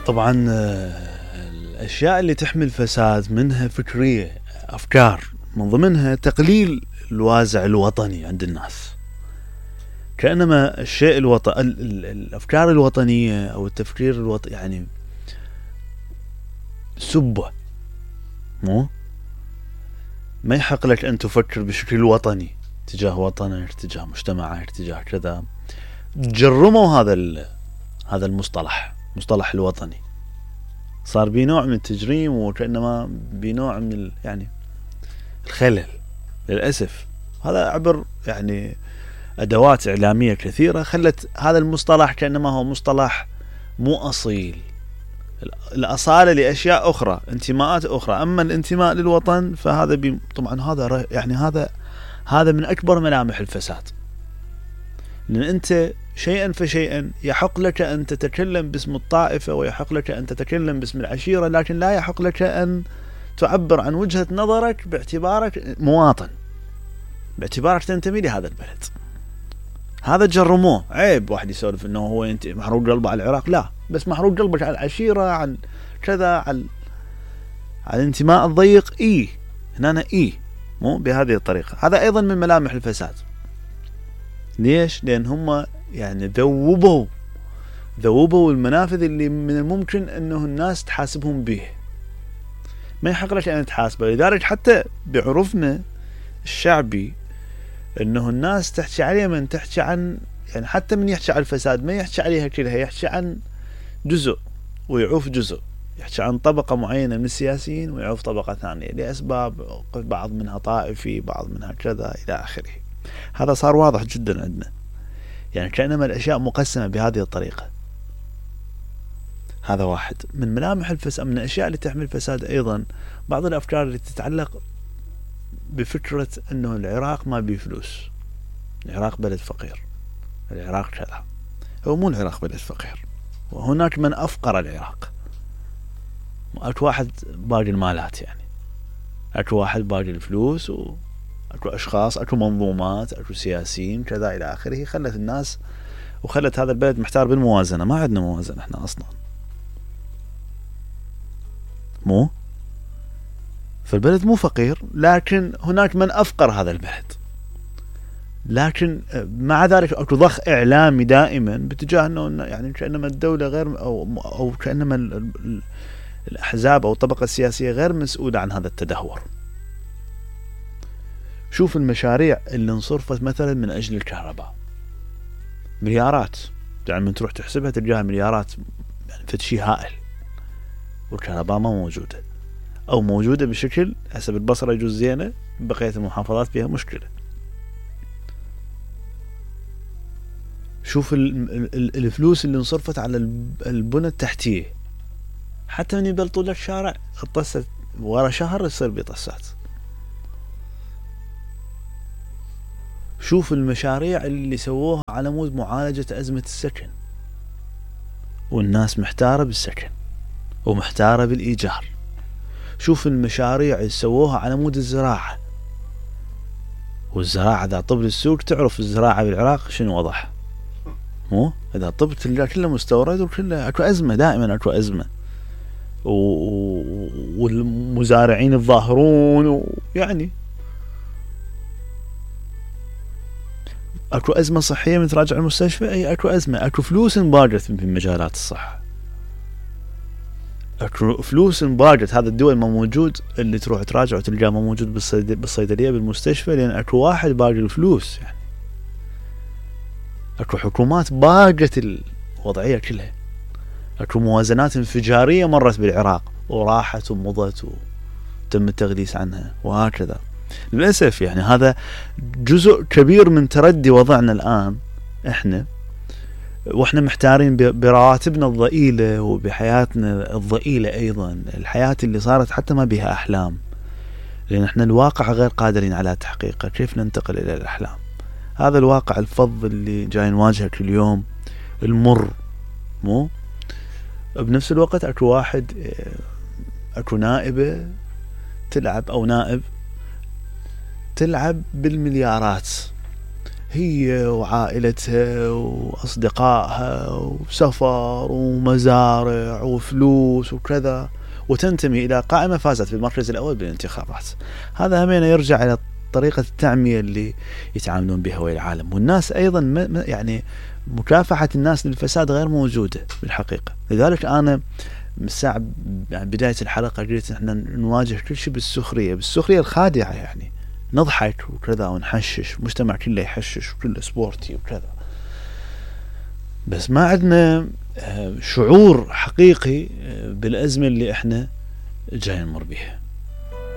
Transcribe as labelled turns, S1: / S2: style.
S1: طبعا الأشياء اللي تحمل فساد منها فكرية، أفكار، من ضمنها تقليل الوازع الوطني عند الناس، كأنما الشيء الأفكار الوطنية أو التفكير الوطني يعني سبه، ما يحق لك أن تفكر بشكل وطني تجاه وطنك، تجاه مجتمعك، تجاه كذا. جرموا هذا المصطلح، مصطلح الوطني، صار بنوع من التجريم، وكأنما بنوع من يعني الخلل للأسف. هذا عبر يعني أدوات إعلامية كثيرة خلت هذا المصطلح كأنما هو مصطلح مو أصيل. الأصالة لأشياء أخرى، انتماءات أخرى، أما الانتماء للوطن فهذا طبعا هذا يعني هذا من أكبر ملامح الفساد، لأن أنت شيئا فشيئا يحق لك أن تتكلم باسم الطائفة، ويحق لك أن تتكلم باسم العشيرة، لكن لا يحق لك أن تعبر عن وجهة نظرك باعتبارك مواطن، باعتبارك تنتمي لهذا البلد. هذا جرموه. عيب واحد يسولف انه هو انت محروق قلبه على العراق، لا، بس محروق قلبك على العشيرة، عن كذا، على الانتماء الضيق، هنا مو بهذه الطريقة. هذا ايضا من ملامح الفساد. ليش؟ لان هم يعني ذوبوا المنافذ اللي من الممكن انه الناس تحاسبهم به، ما يحق لك ان تحاسبه. لذلك حتى بعرفنا الشعبي انه الناس تحكي عليه، من تحكي عن يعني حتى من يحكي عن الفساد ما يحكي عليها كلها، يحكي عن جزء ويعوف جزء، يحكي عن طبقة معينة من السياسيين ويعوف طبقة ثانية لأسباب، بعض منها طائفي، بعض منها كذا إلى آخره. هذا صار واضح جدا عندنا، يعني كأنما الأشياء مقسمة بهذه الطريقة. هذا واحد من ملامح الفساد. من الأشياء اللي تحمل فساد أيضا بعض الأفكار اللي تتعلق بفكرة أنه العراق ما بيه فلوس، العراق بلد فقير، العراق كذا. هو مو العراق بلد فقير، وهناك من أفقر العراق. أكو واحد باقي المالات، يعني أكو واحد باقي الفلوس، وأكو أشخاص، أكو منظومات، أكو سياسيين كذا إلى آخره، خلت الناس وخلت هذا البلد محتار بالموازنة. ما عندنا موازنة احنا أصلا، مو فالبلد مو فقير، لكن هناك من أفقر هذا البلد. لكن مع ذلك أكو ضخ إعلامي دائما باتجاه أنه يعني كأنما الدولة غير أو كأنما الأحزاب أو الطبقة السياسية غير مسؤولة عن هذا التدهور. شوف المشاريع اللي انصرفت مثلا من أجل الكهرباء، مليارات، يعني من تروح تحسبها تلقاها مليارات، يعني فتشي هائل، والكهرباء ما موجودة، أو موجودة بشكل حسب البصرة يجوز زينة، بقية المحافظات فيها مشكلة. شوف الفلوس اللي انصرفت على البنى التحتية، حتى من يبلطوا لك شارع اتصت ورا شهر يصير بيطسات. شوف المشاريع اللي سووها على مود معالجة أزمة السكن، والناس محتارة بالسكن ومحتارة بالإيجار. شوف المشاريع اللي سووها على مود الزراعة، والزراعة إذا طب السوق تعرف الزراعة بالعراق شنو وضعها، مو إذا طب تلقى كله مستورد وكله أكو أزمة، دائما أكو أزمة، والمزارعين الظاهرون، ويعني اكو أزمة صحية من تراجع المستشفى، اي اكو أزمة، اكو فلوس انباقت في مجالات الصحة، اكو فلوس انباقت. هذا الدول ما موجود اللي تروح تراجع وتلقاه ما موجود بالصيدلية بالمستشفى، لأن اكو واحد باقي الفلوس. يعني اكو حكومات باقت الوضعية كلها، اكو موازنات انفجارية مرت بالعراق وراحت ومضت وتم التغليس عنها وهكذا. للأسف يعني هذا جزء كبير من تردي وضعنا الآن احنا، واحنا محتارين برواتبنا الضئيلة وبحياتنا الضئيلة، ايضا الحياة اللي صارت حتى ما بها احلام، لان احنا الواقع غير قادرين على تحقيقه. كيف ننتقل الى الاحلام؟ هذا الواقع الفظ اللي جاي نواجهه كل يوم، المر، مو بنفس الوقت اكو واحد، اكو نائبة تلعب او نائب تلعب بالمليارات، هي وعائلتها وأصدقائها وسفر ومزارع وفلوس وكذا، وتنتمي إلى قائمة فازت بالمركز الأول بالانتخابات. هذا همين يرجع إلى طريقة التعمية اللي يتعاملون بها ويا العالم. والناس أيضا يعني مكافحة الناس للفساد غير موجودة بالحقيقة. لذلك أنا من الساعة يعني بداية الحلقة قلت احنا نواجه كل شيء بالسخرية الخادعة، يعني نضحك وكذا ونحشش، مجتمع كله يحشش وكله سبورتي وكذا، بس ما عندنا شعور حقيقي بالأزمة اللي احنا جاي نمر بيها.